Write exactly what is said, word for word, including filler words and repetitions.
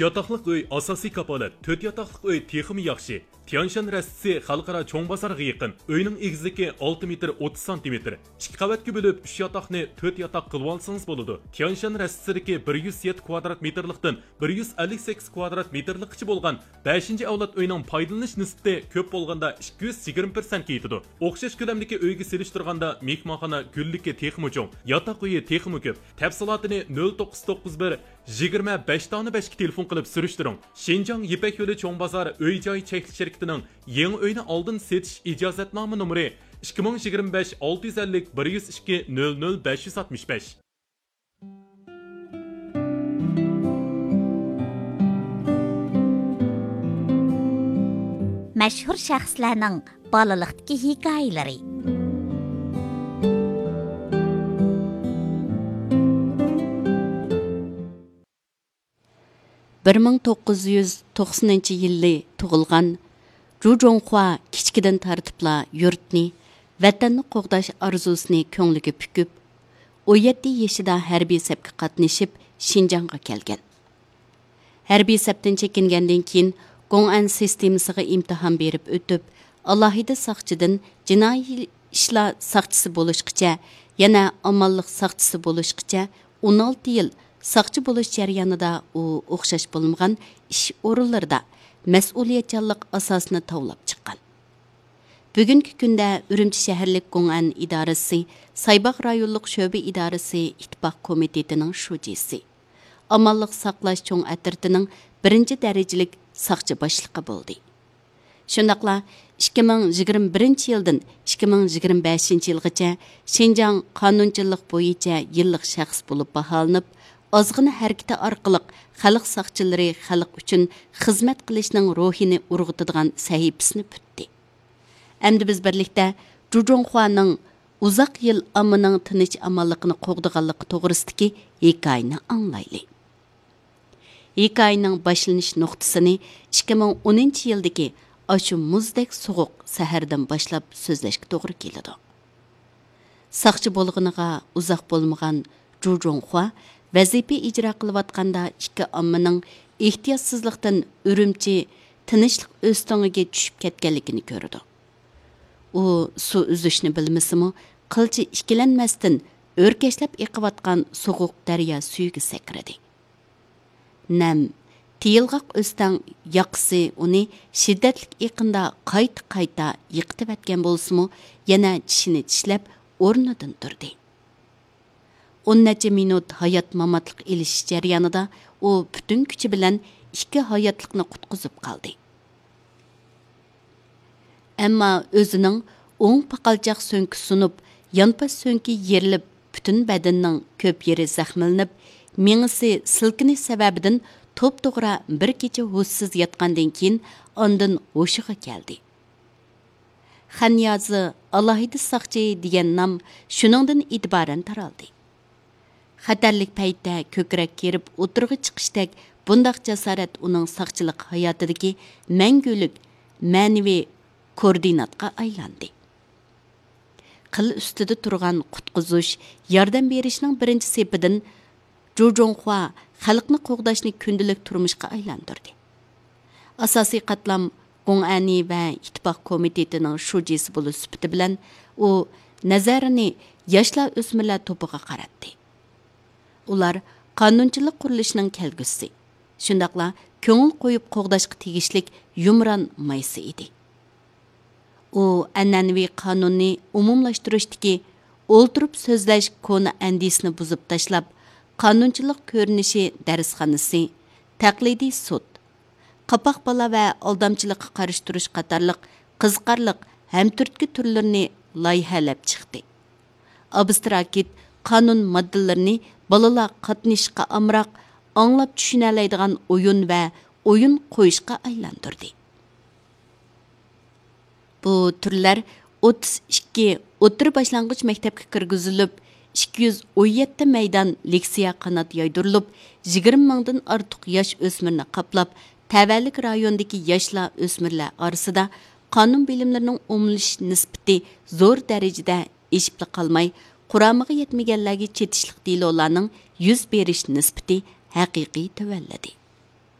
ياتاقلىق ئۆي ئاساسىي كاپالەت، تۆت ياتاقلىق ئۆي تېخىمۇ ياخشى. تيانشان رەستىسى خەلقئارا چوڭ بازارغا يېقىن. ئۆينىڭ ئېگىزلىكى ئالتە مېتىر ئوتتۇز سانتىمېتىر. ئىككى قەۋەتكە بۆلۈپ، ئۈچ ياتاقنى تۆت ياتاق قىلىۋالسىڭىز بولىدۇ. تيانشان رەستىسىدىكى بىر يۈز يەتتە كۋادرات مېتىرلىقتىن بىر يۈز ئەللىك سەككىز كۋادرات مېتىرلىققىچە بولغان بەشىنچى ئەۋلاد ئۆينىڭ پايدىلىنىش نىسبىتى كۆپ بولغاندا ئىككى يۈز يىگىرمە پىرسەنتكە يېتىدۇ. ئوخشاش كۆلەمدىكى ئۆيگە سېلىشتۇرغاندا مېھمانخانا گۈللۈكى تېخىمۇ چوڭ، ياتاق ئۆيى تېخىمۇ كۆپ. تەپسىلاتىنى نۆل توققۇز توققۇز بىر، يىگىرمە بەش دانە بەشكە تېلېفون قىلىپ سۈرۈشتۈرۈڭ. شىنجاڭ يىپەك يولى چوڭ بازار ئۆي جاي چەكلىك شىركىتىنىڭ يېڭى ئۆينى ئالدىن سېتىش ئىجازەتنامە نومۇرى ئىككى مىڭ يىگىرمە بەش ئالتە يۈز ئەللىك بىر يۈز ئىككى نۆل نۆل بەش يۈز ئاتمىش بەش. مەشھۇر شەخسلەرنىڭ بالىلىقتىكى ھېكايىلىرى. بىر مىڭ توققۇز يۈز توقسىنىنچى يىلى تۇغۇلغان جۇ جۇڭخۇا كىچىكىدىن تارتىپلا يۇرتنى، ۋەتەننى قوغداش ئارزۇسىنى كۆڭلىگە پۈكۈپ، ئون يەتتە يېشىدا ھەربىي سەپكە قاتنىشىپ، شىنجاڭغا كەلگەن. ھەربىي سەپتىن چېكىنگەندىن كېيىن، گوڭئەن سىستېمىسىغا ئىمتىھان بېرىپ ئۆتۈپ، ئالاھىدە ساقچىدىن جىنايى ئىشلار ساقچىسى بولۇشقىچە، يەنە ئامانلىق ساقچىسى بولۇشقىچە ئون ئالتە يىل ساقچى بولۇش جەريانىدا ئۇ ئوخشاش بولمىغان ئىش ئورۇنلىرىدا مەسئۇلىيەتچانلىق ئاساسىنى تاۋلاپ چىققان. بۈگۈنكى كۈندە ئۈرۈمچى شەھەرلىك گوڭئەن ئىدارىسى، سايباغ رايونلۇق شۆبە ئىدارىسى ئىتتىپاق كومىتېتىنىڭ شۇجىسى، ئامانلىق ساقلاش چوڭ ئەترىتىنىڭ بىرىنچى دەرىجىلىك ساقچى باشلىقى بولدى. شۇنداقلا ئىككى مىڭ يىگىرمە بىرىنچى يىلدىن ئىككى مىڭ يىگىرمە بەشىنچى يىلغىچە شىنجاڭ قانۇنچىلىق بويىچە يىللىق شەخس بولۇپ باھالىنىپ، ئازغىنە ھەرىكىتى ئارقىلىق خەلق ساقچىلىرى خەلق ئۈچۈن خىزمەت قىلىشنىڭ روھىنى ئۇرغۇتىدىغان سەھىپىسىنى پۈتتى. ئەمدى بىز بىرلىكتە جۇ جۇڭخۇانىڭ ئۇزاق يىل ئاممىنىڭ تىنچ ئامانلىقىنى قوغدىغانلىقى توغرىسىدىكى ھېكايىنى ئاڭلايلى. ھېكايىنىڭ باشلىنىش نۇقتىسىنى ئىككى مىڭ ئونىنچى يىلدىكى ئاشۇ مۇزدەك سوغۇق سەھەردىن باشلاپ سۆزلەشكە توغرا كېلىدۇ. ساقچى بولغىنىغا ئۇزاق بولمىغان جۇ جۇڭخۇا ۋەزىپە ئىجرا قىلىۋاتقاندا ئىككى ئاممىنىڭ ئېھتىياتسىزلىقتىن ئۈرۈمچى تىنچلىق ئۆستىڭىگە چۈشۈپ كەتكەنلىكىنى كۆرىدۇ. ئۇ سۇ ئۈزۈشنى بىلمىسىمۇ، قىلچە ئىككىلەنمەستىن ئۆركەشلەپ ئېقىۋاتقان سوغۇق دەريا سۈيىگە سەكرىدى. نەم، تىيىلغاق ئۆستەڭ ياقىسى ئۇنى شىددەتلىك ئېقىندا قايتا-قايتا يىقىتىۋەتكەن بولسىمۇ، يەنە چىشىنى چىشلەپ ئورنىدىن تۇردى. ئون نەچچە مىنۇت ھايات-ماماتلىق ئېلىشىش جەريانىدا ئۇ پۈتۈن كۈچى بىلەن ئىككى ھاياتلىقنى قۇتقۇزۇپ قالدى. ئەمما ئۆزىنىڭ ئوڭ پاقالچاق سۆڭىكى سۇنۇپ، يانپاش سۆڭىكى يېرىلىپ، پۈتۈن بەدىنىنىڭ كۆپ يېرى زەخىملىنىپ، مېڭىسى سىلكىنىش سەۋەبىدىن توپتوغرا بىر كېچە ھوشسىز ياتقاندىن كېيىن، ئاندىن ھوشىغا كەلدى. خەنيازى ئالاھىدە ساقچى دېگەن نام شۇنىڭدىن ئېتىبارەن تارالدى. خەتەرلىك پەيتتە كۆكرەك كېرىپ ئوتتۇرىغا چىقىشتەك بۇنداق جاسارەت ئۇنىڭ ساقچىلىق ھاياتىدىكى مەڭگۈلۈك مەنىۋى كوردىناتقا ئايلاندى. قىل ئۈستىدە تۇرغان قۇتقۇزۇش، ياردەم بېرىشنىڭ بىرىنچى سېپىدىن جۇ جۇڭخۇا خەلقنى قوغداشنى كۈندىلىك تۇرمۇشقا ئايلاندۇردى. ئاساسىي قاتلام گوڭئەنى ۋە ئىتتىپاق كومىتېتىنىڭ شۇجىسى بولۇش سۈپىتى بىلەن ئۇ نەزەرىنى ياشلار ئۆسمۈرلەر توپىغا قاراتتى. ئۇلار قانۇنچىلىق قۇرۇلۇشىنىڭ كەلگۈسى، شۇنداقلا كۆڭۈل قويۇپ قوغداشقا تېگىشلىك يۇمران مايسا ئىدى. ئۇ ئەنئەنىۋى قانۇننى ئومۇملاشتۇرۇشتىكى ئولتۇرۇپ سۆزلەش كونا ئەندىزىسىنى بۇزۇپ تاشلاپ، قانۇنچىلىق كۆرۈنۈشى دەرسخانىسى، تەقلىدىي سوت، قاپاق بالا ۋە ئالدامچىلىققا قارشى تۇرۇش قاتارلىق قىزىقارلىق ھەمتۈرتكە تۈرلىرىنى لايىھەلەپ چىقتى. ئابستراكت قانۇن ماددىلىرىنى بالىلار قاتنىشىشقا ئامراق، ئاڭلاپ چۈشىنەلەيدىغان ئويۇن ۋە ئويۇن قويۇشقا ئايلاندۇردى. بۇ تۈرلەر ئوتتۇز ئىككى ئوتتۇرا باشلانغۇچ مەكتەپكە كىرگۈزۈلۈپ، ئىككى يۈز ئون يەتتە مەيدان لېكسىيە قانات يايدۇرۇلۇپ، يىگىرمە مىڭدىن ئارتۇق ياش ئۆسمۈرنى قاپلاپ، تەۋەلىك رايوندىكى ياشلار ئۆسمۈرلەر ئارىسىدا قانۇن بىلىملىرىنىڭ ئومۇملىشىش نىسبىتى زور دەرىجىدە ئېشىپلا قالماي، قۇرامىغا يەتمىگەنلەرگە چېتىشلىق دېلولارنىڭ يۈز بېرىش نىسبىتى ھەقىقىي تۆۋەنلىدى.